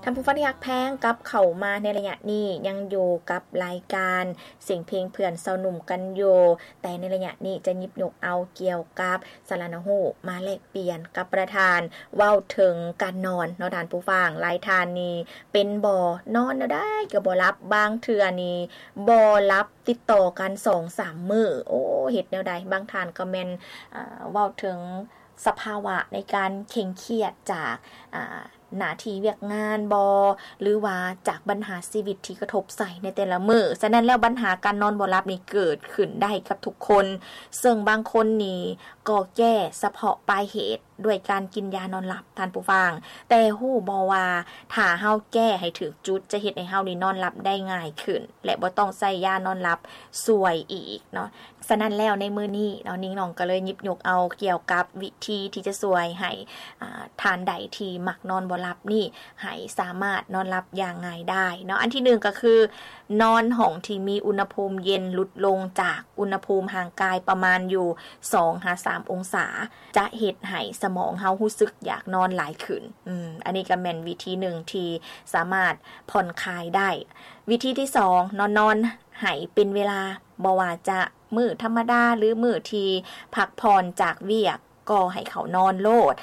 ທ່ານຜູ້ຟັງທີ່ຮັກແພງ, ກັບເຂົ້າມາໃນໄລຍະນີ້ ຍັງຢູ່ກັບລາຍການສຽງເພງເພື່ອນຊາວໜຸ່ມກັນຢູ່, ແຕ່ໃນໄລຍະນີ້ຈະຫຍິບຍົກເອົາກ່ຽວກັບສາລະໜູມມາແລກປ່ຽນກັບປະທານ ເວົ້າເຖິງການນອນເນາະທ່ານຜູ້ຟັງ. ຫຼາຍທ່ານນີ້ເປັນບໍ່ ນອນແນວໃດກໍບໍ່ຫຼັບ, ບາງເທື່ອນີ້ບໍ່ຫຼັບຕິດຕໍ່ກັນສອງສາມມື້. ໂອ້ ເຮັດແນວໃດ? ບາງທ່ານກໍແມ່ນ ເວົ້າເຖິງສະພາວະໃນການເຄັ່ງຄຽດຈາກ ອາ ໜ້າທີ່ວຽກງານບໍ ຫຼືວ່າຈາກບັນຫາຊີວິດທີ່ກະທົບໃສ່ໃນແຕ່ລະມື້. ສະນັ້ນແລ້ວບັນຫາການນອນບໍ່ຫຼັບນີ້ເກີດຂຶ້ນໄດ້ກັບທຸກຄົນ, ເຊິ່ງບາງຄົນນີ້ກໍແກ້ສະເພາະປາຍເຫດດ້ວຍການກິນຢານອນຫຼັບ, ທ່ານຜູ້ຟັງ. ແຕ່ຮູ້ບໍ່ວ່າຖ້າເຮົາແກ້ໃຫ້ຖືກຈຸດ ຈະເຮັດໃຫ້ເຮົານີ້ນອນຫຼັບໄດ້ງ່າຍຂຶ້ນ ແລະ ບໍ່ຕ້ອງໃຊ້ຢານອນຫຼັບຊ່ວຍອີກເນາະ. ສະນັ້ນແລ້ວໃນມື້ນີ້ເນາະ ນິ້ງນ້ອງກໍເລີຍຫຍິບຍົກເອົາກ່ຽວກັບວິທີທີ່ຈະຊ່ວຍໃຫ້ ອາ ທ່ານໃດທີ່ມັກນອນບໍ່ຫຼັບນີ້ ໃຫ້ສາມາດນອນຫຼັບຢ່າງງ່າຍດາຍເນາະ. ອັນທີໜຶ່ງກໍຄື ນອນຫ້ອງທີ່ມີອຸນຫະພູມເຢັນ ຫຼຸດລົງຈາກອຸນຫະພູມຮ່າງກາຍປະມານຢູ່ສອງຫາສາມອົງສາ, ຈະເຮັດໃຫ້ສະໝອງເຮົາຮູ້ສຶກຢາກນອນຫຼາຍຂຶ້ນ. ອືມ ອັນນີ້ກໍແມ່ນວິທີໜຶ່ງທີ່ສາມາດຜ່ອນຄາຍໄດ້. ວິທີທີສອງເນາະ ນອນໃຫ້ເປັນເວລາ, ບໍ່ວ່າຈະມື້ທຳມະດາ ຫຼື ມື້ທີ່ພັກຜ່ອນຈາກວຽກ ກໍໃຫ້ເຂົ້ານອນໂລດ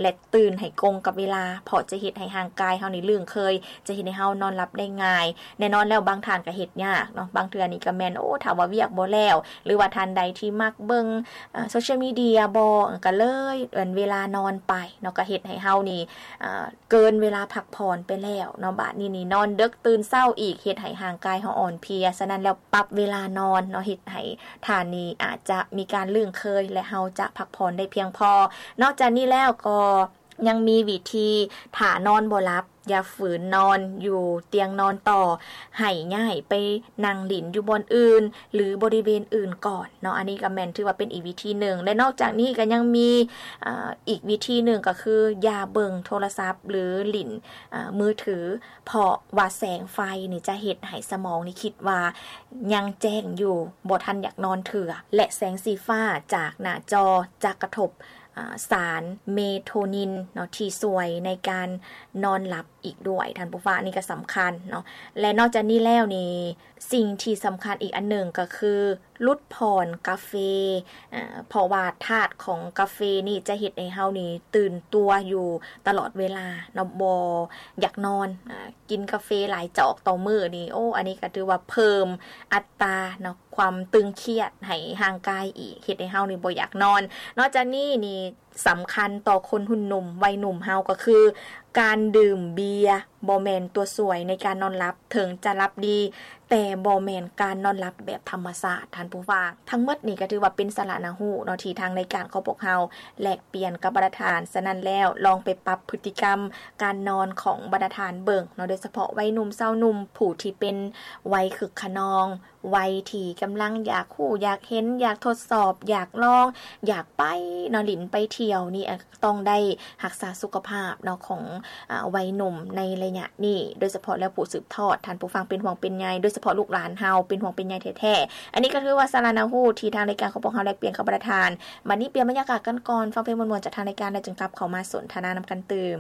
ແລະ ຕື່ນໃຫ້ກົງກັບເວລາ, ເພາະຈະເຮັດໃຫ້ຮ່າງກາຍເຮົານີ້ລຶ້ງເຄີຍ, ຈະເຮັດໃຫ້ເຮົານອນຫຼັບໄດ້ງ່າຍ. ແນ່ນອນແລ້ວບາງທ່ານກໍເຮັດຍາກເນາະ, ບາງເທື່ອນີ້ກໍແມ່ນ ໂອ້ ຖ້າວ່າວຽກບໍ່ແລ້ວ ຫຼືວ່າທ່ານໃດທີ່ມັກເບິ່ງ ເອີ ໂຊຊຽວມີເດຍບໍ ກໍເລີຍເວລານອນໄປເນາະ, ກໍເຮັດໃຫ້ເຮົານີ້ ເອີ ເກີນເວລາພັກຜ່ອນໄປແລ້ວເນາະ. ບາດນີ້ນີ້ນອນເດິກຕື່ນເຊົ້າອີກ ເຮັດໃຫ້ຮ່າງກາຍເຮົາອ່ອນເພຍ. ສະນັ້ນແລ້ວປັບເວລານອນເນາະ ເຮັດໃຫ້ທ່ານນີ້ອາດຈະມີການລຶ້ງເຄີຍ ແລະ ເຮົາຈະພັກຜ່ອນໄດ້ພຽງພໍ. ນອກຈາກນີ້ແລ້ວກໍຍັງມີວິທີ ຖ້ານອນບໍ່ຫຼັບ ຢ່າຝືນນອນຢູ່ຕຽງນອນຕໍ່, ໃຫ້ຍ້າຍໄປນັ່ງຫຼິ້ນຢູ່ບ່ອນອື່ນ ຫຼື ບໍລິເວນອື່ນກ່ອນເນາະ. ອັນນີ້ກໍແມ່ນຖືວ່າເປັນອີກວິທີໜຶ່ງ ແລະ ນອກຈາກນີ້ກໍຍັງມີ ເອີ ອີກວິທີໜຶ່ງກໍຄື ຢ່າເບິ່ງໂທລະສັບ ຫຼື ຫຼິ້ນ ເອີ ມືຖື, ເພາະວ່າແສງໄຟນີ້ຈະເຮັດໃຫ້ສະໝອງນີ້ຄິດວ່າຍັງແຈ້ງຢູ່, ບໍ່ທັນຢາກນອນເທື່ອ ແລະ ແສງສີຟ້າຈາກໜ້າຈໍຈະກະທົບ ອາ ສານເມໂທນິນເນາະ ທີ່ຊ່ວຍໃນການນອນຫຼັບອີກດ້ວຍ ທ່ານຜູ້ຟັງ, ອັນນີ້ກໍສຳຄັນເນາະ. ແລະ ນອກຈາກນີ້ແລ້ວນີ້ ສິ່ງທີ່ສຳຄັນອີກອັນໜຶ່ງກໍຄື ຫຼຸດຜ່ອນກາເຟ ເພາະວ່າທາດຂອງກາເຟນີ້ຈະເຮັດໃຫ້ເຮົານີ້ຕື່ນຕົວຢູ່ຕະຫຼອດເວລາເນາະ, ບໍ່ຢາກນອນ. ອາ ກິນກາເຟຫຼາຍຈອກຕໍ່ມື້ນີ້ ໂອ້ ອັນນີ້ກໍຖືວ່າເພີ່ມອັດຕາເນາະ ຄວາມຕຶງຄຽດໃຫ້ຮ່າງກາຍອີກ, ເຮັດໃຫ້ເຮົານີ້ບໍ່ຢາກນອນ. ນອກຈາກນີ້ນີ້ ສຳຄັນຕໍ່ຄົນຮຸ່ນໜຸ່ມ ໄວໜຸ່ມເຮົາກໍຄື ການດື່ມເບຍບໍ່ແມ່ນຕົວຊ່ວຍໃນການນອນຫຼັບ, ເຖິງຈະຫຼັບດີ ແຕ່ບໍ່ແມ່ນການນອນຫຼັບແບບທຳມະຊາດ, ທ່ານຜູ້ຟັງ. ທັງໝົດນີ້ກໍຖືວ່າເປັນສາລະໜ້າຮູ້ເນາະ ທີ່ທາງລາຍການຂອງພວກເຮົາແລກປ່ຽນກັບບັນດາທ່ານ. ສະນັ້ນແລ້ວ ລອງໄປປັບພຶດຕິກຳການນອນຂອງບັນດາທ່ານເບິ່ງເນາະ, ໂດຍສະເພາະໄວໜຸ່ມ ຊາວໜຸ່ມ ຜູ້ທີ່ເປັນໄວຄຶກຂະນອງ, ໄວທີ່ກຳລັງຢາກຮູ້ ຢາກເຫັນ ຢາກທົດສອບ ຢາກລອງ ຢາກໄປເນາະ ຫຼິ້ນໄປທ່ຽວນີ້ ອາ ຕ້ອງໄດ້ຮັກສາສຸຂະພາບເນາະ ຂອງ ອາ ໄວໜຸ່ມໃນໄລຍະນີ້, ໂດຍສະເພາະແລ້ວຜູ້ສືບທອດ, ທ່ານຜູ້ຟັງເປັນຫ່ວງເປັນໃຍ, ໂດຍສະເພາະລູກຫຼານເຮົາເປັນຫ່ວງເປັນໃຍແທ້ໆ. ອັນນີ້ກໍຖືວ່າສາລະໜ້າຮູ້ທີ່ທາງລາຍການຂອງພວກເຮົາແລກປ່ຽນກັບບັນດາທ່ານ. ບັດນີ້ປ່ຽນບັນຍາກາດກັນກ່ອນ, ຟັງເພງມ່ວນໆຈາກທາງລາຍການ ແລ້ວຈຶ່ງກັບເຂົ້າມາສົນທະນານຳກັນຕື່ມ.